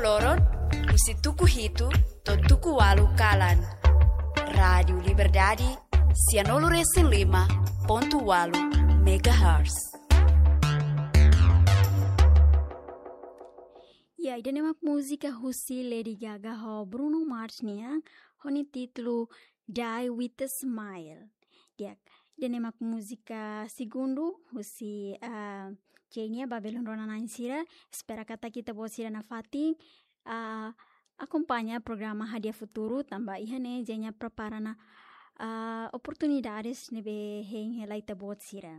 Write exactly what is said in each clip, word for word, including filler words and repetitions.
Loron, husi tuku hitu to'o tuku ualu kalan. Rádiu Liberdade, sianulu resin lima pontu ualu megahertz. Ya, ida-ne'e mak múzika husi Lady Gaga ho Bruno Mars nian, ho nia títulu Die with a Smile. Di'ak, ida-ne'e mak múzika segundu husi, ah, Jay nian ba belun rona-na'in sira. Espera katak ita-boot sira nafatin, ah, akompaña programa Hadi'a Futuru, tanba iha ne'e Jay nian prepara ona, ah, oportunidades ne'ebé hein hela ita-boot sira.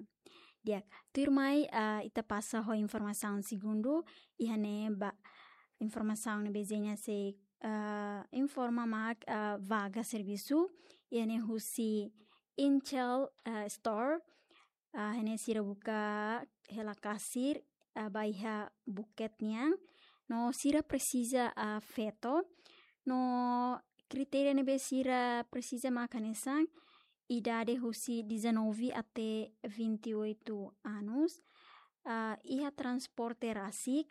Di'ak, tuirmai, ah, ita pasa ho informasaun segundu, iha ne'e ba informasaun ne'ebé Jay nian sei, ah, informa mak, ah, vaga servisu, iha ne'e husi Inshell, ah, Store, ah, iha ne'e sira buka hela kasir, ah, ba iha buket nian, no sira presiza, ah, feto, no kritéria ne'ebé sira presiza mak hanesan, idade husi dezanove até vinte e oito anos, ah, iha transporte rasik,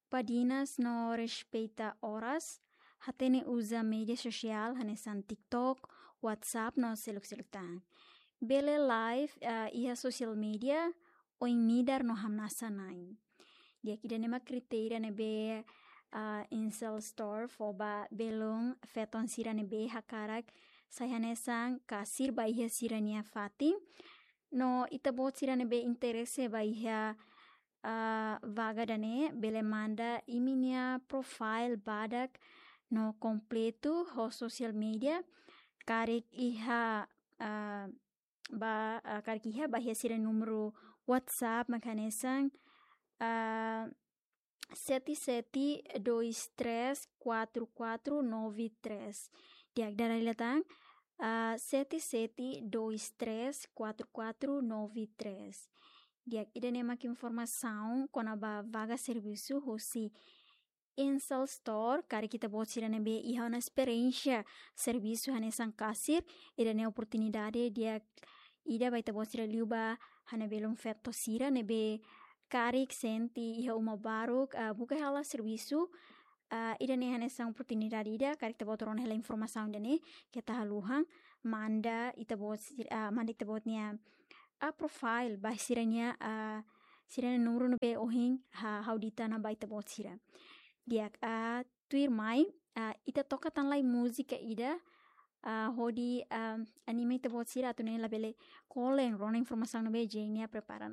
badinas no respeita oras, hatene uza média sosiál hanesan TikTok, WhatsApp no seluk-seluk tan. Bele live, ah, iha social media, oin midar no hamnasa-na'in. Di'ak, ida-ne'e mak kritéria ne'ebé, ah, Inshell Store fó ba belun feton sira ne'ebé hakarak sai hanesan kasir ba iha sira-nia fatin. No ita-boot sira ne'ebé interese ba iha, ah, vaga ida-ne'e, bele manda imi-nia profile badak no kompletu ho social media. Karik iha, ah, ba, ah, karik iha ba iha sira númeru WhatsApp mak hanesan, ah, sete sete dois três quatro quatro nove três. Di'ak, dala ida tan, ah, sete sete dois três quatro quatro nove três. Di'ak, ida-ne'e mak informasaun kona-ba vaga servisu husi Inshell Store, karik ita-boot sira ne'ebé iha ona esperiénsia servisu hanesan kasir, ida-ne'e oportunidade di'ak ida ba ita-boot sira liu ba ha'u-nia belun feto sira ne'ebé karik sente iha uma baruk, ah, buka hela servisu, ah, ida-ne'e hanesan oportunidade ida, karik ita-boot rona hela informasaun ida-ne'e, keta haluha, manda ita-boot sir-, ah, manda ita-boot nia, ah, profile, ba sira-nia, ah, sira-nia númeru ne'ebé ohin, ha, ha'u dehan ona ba ita-boot sira. Di'ak, ah, tuirmai, ah, ita toka tan lai múzika ida, ah, hodi, ah, anima ita-boot sira atu nune'e labele kolen rona informasaun ne'ebé Jay nian prepara.